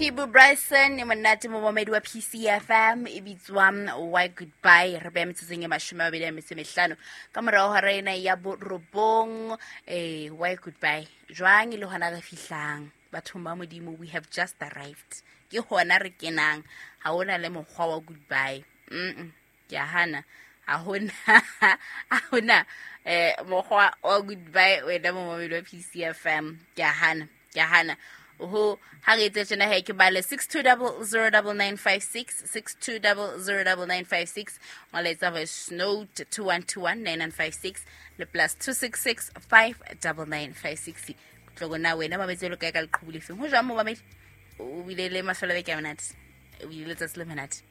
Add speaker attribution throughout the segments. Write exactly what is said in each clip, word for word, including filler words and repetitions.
Speaker 1: Peebo Bryson e monate momamedi wa P C F M e bitswang Why Goodbye. Re beha metsotsong e mashome a mabedi a metso e mehlano ka morao hora ena ya borobong. Eh, Why Goodbye jwang e le hona re fihlang bathong ba Modimo, we have just arrived. Ke hona re kenang, ha hona le mokgwa wa goodbye. Mm, ke a hana, ha hona ha hona eh mokgwa wa goodbye wena momamedi wa P C F M. Ke a hana, ke a hana. Ho ha re etse tjena he ke bale six two zero zero nine nine five six, six two zero zero nine nine five six, molaetsa voice note two one two one nine nine five six le plus two six six five nine nine five six. Tlogo na wena mametse lo kae ka leqhubu lefeng? Ho jwang mo mamedi? O bile le mafelo a beke a monate, o bile le letsatsi le monate.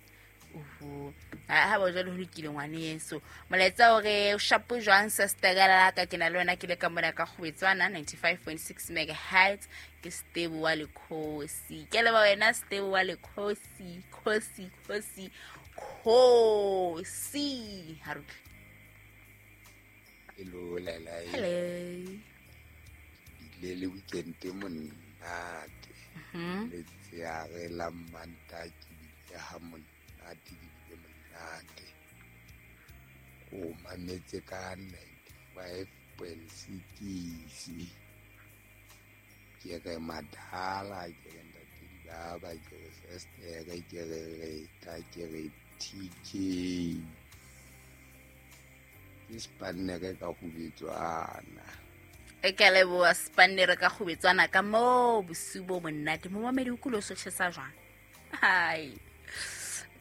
Speaker 1: Oho, ha ba jwale ho lokile ngwaneso. Molaetsa o re o shapo jwang sister ka ke na le wena ke le ka mona ka Kgobetswana ninety-five point six megahertz. Ke Stebo wa Lekgosi. Ke leba wena Stebo wa Lekgosi, Khosi, Khosi, Khosi. Ha re utlwe.
Speaker 2: Hello, Lela.
Speaker 1: Hello.
Speaker 2: Le le weekend e monate.
Speaker 1: Mhm.
Speaker 2: Letsheare la Manta ke bile ha monate, ke bile monate. O mametse ka ninety-five point six. Ke re madala, ke re ntate dibaba, ke re sister, ke re Reta, ke re T K. Ke spannere ka kgubetswana.
Speaker 1: E ke a leboha spannere ka kgubetswana ka moo bosiu bo monate. Momamedi o kule o so tjhesa jwang? Hai.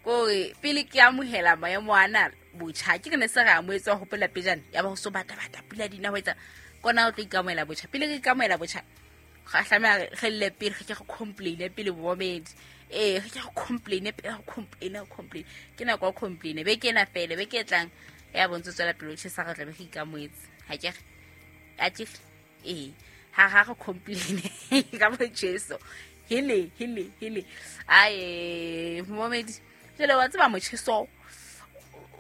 Speaker 1: Kore pele ke amohela maemo ana botjha, ke re ne se re amohetse wa hopola pejana, ya ba ho so bata bata pula dina ho etsa kona o tlo ikamohela botjha. Pele re ikamohela botjha, ga tlameha re lle pele, re ke re complain pele momamedi. Eh, re ke re complain pele, re complain, re complain. Ke nako ya complain. Beke ena fele, beke e tlang ya bontse tswela pele o tjhesa, re tla be re ikamohetse. Ha ke re? Ha ke re? Eh, ha ha re complain ka motjheso. Hele, hele, hele. Ae, momamedi. Jwale wa tseba motjheso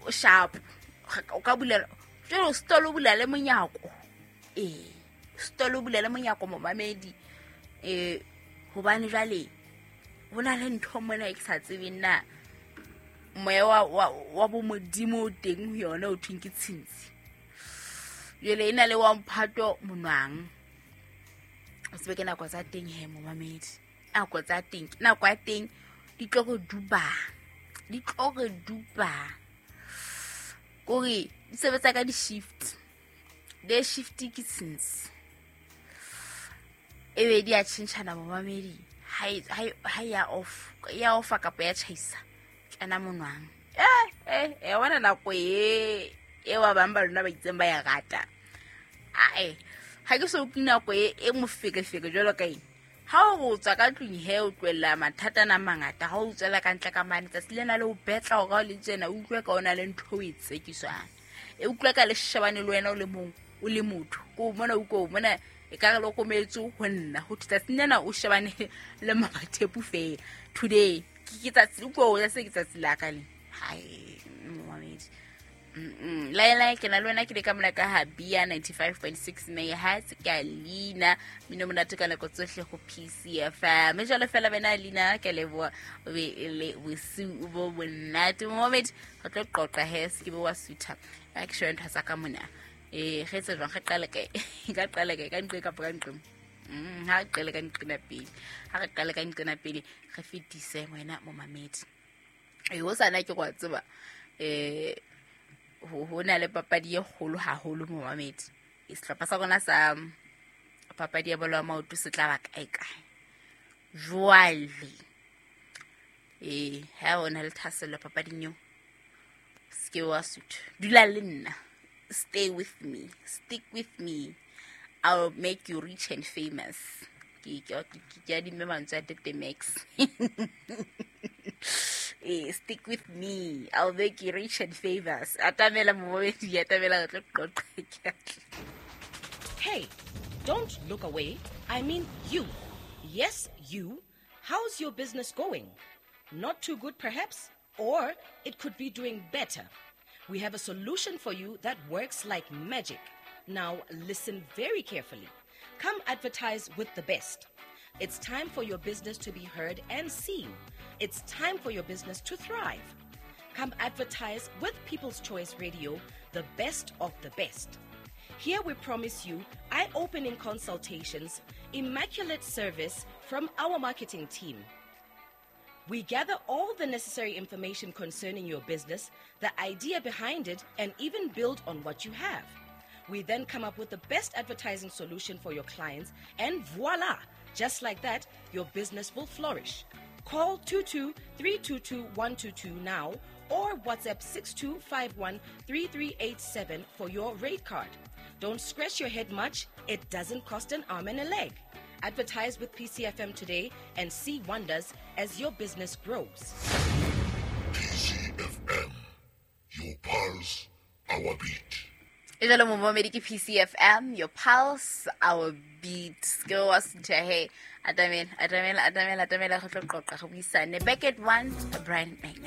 Speaker 1: o sharp. O ka bulela, jwale o stolo bula le monyako. Eh, stolo bula le monyako momamedi. Eh, hobane jwale ho na le ntho mona e ke sa tsebeng na moya wa, wa, wa bo Modimo o teng ho yona o thweng ke tshintshi. Jwale e na le wa mphato monwang. O tsebe ke nako tsa teng he momamedi. Nako tsa teng, nako ya teng di tlo re duba. Di tlo re duba. Kore di sebetsa ka di-shift. Di shift ke tshintshi. Ebe di a tjhentjhana momamedi. Ha e, ha e, ha e ya off, ya off kapa ya tjhaisa. Kena monwang. Eh, eh, eh, wa nako e, e wa bang ba lona ba itseng ba ya rata. Ae, ha ke so utlwe nako e, e mofekefeke jwalo ka eng. Ha o tswa ka tlung he o tlohella mathata a mangata, ha o tswela ka ntle ka mane tsatsi lena le o betla hore ha o le tjena, o utlwe ka ona le ntho o e tsekiswang. E utlwe ka le shebane le wena o le mong, o le motho. Ko mona o ko mona e ka re le kometse ho nna. Ho thwe tsatsi lena o shebane le mabathepu feela. Today ke ke tsatsi o ko o se ke tsatsi la ka le. Hai, momamedi. Mm-mm. Lai lai ke na le wena ke le ka mona ka Habia ninety-five point six megahertz ke a Lina mino monate ka nako tsohle ho P C F M. Mme jwale fela wena Lina ke leboha o be le bosiu bo monate. Momamedi re tlo qoqa he se ke be wa sutha. A ke shebe ntho tsa ka mona. Eh, re etse jwang? Re qale kae? Ka qale kae? Ka nqe kapa ka nqe? Mm, ha re qale ka nqena pele. Ha re qale ka nqena pele re fetise wena momamedi. Eh, ho sana ke go tseba. Eh, ho, ho na le papadi e kgolo haholo momamedi. E sehlopha sa rona sa papadi ya bolo ya maoto se tla ba kae kae. Jwale eh, ha o na le thahasello papading eo, se ke wa sutha. Dula le nna. Stay with me. Stick with me. I'll make you rich and famous. Ke, ke, ke, ke adimme mantswe a Tete Max. Eh, stick with me. I'll make you rich and famous. Atamela momamedi, atamela re tlo qoqa.
Speaker 3: Hey, don't look away. I mean you. Yes, you. How's your business going? Not too good, perhaps? Or it could be doing better. We have a solution for you that works like magic. Now, listen very carefully. Come advertise with the best. It's time for your business to be heard and seen. It's time for your business to thrive. Come advertise with People's Choice Radio, the best of the best. Here we promise you eye opening consultations, immaculate service from our marketing team. We gather all the necessary information concerning your business, the idea behind it, and even build on what you have. We then come up with the best advertising solution for your clients, and voila! Just like that, your business will flourish. Call two two three two two one two two now or WhatsApp six two five one three three eight seven for your rate card. Don't scratch your head much, it doesn't cost an arm and a leg. Advertise with P C F M today and see wonders as your business grows.
Speaker 4: P C F M, your pulse, our beat.
Speaker 1: E jalo momamedi ke P C F M, your pulse, our beat. Ke wa senthe he, atamela, atamela, atamela, atamela, re tlo qoqa, re buisane. Back at one, Brian McKnight.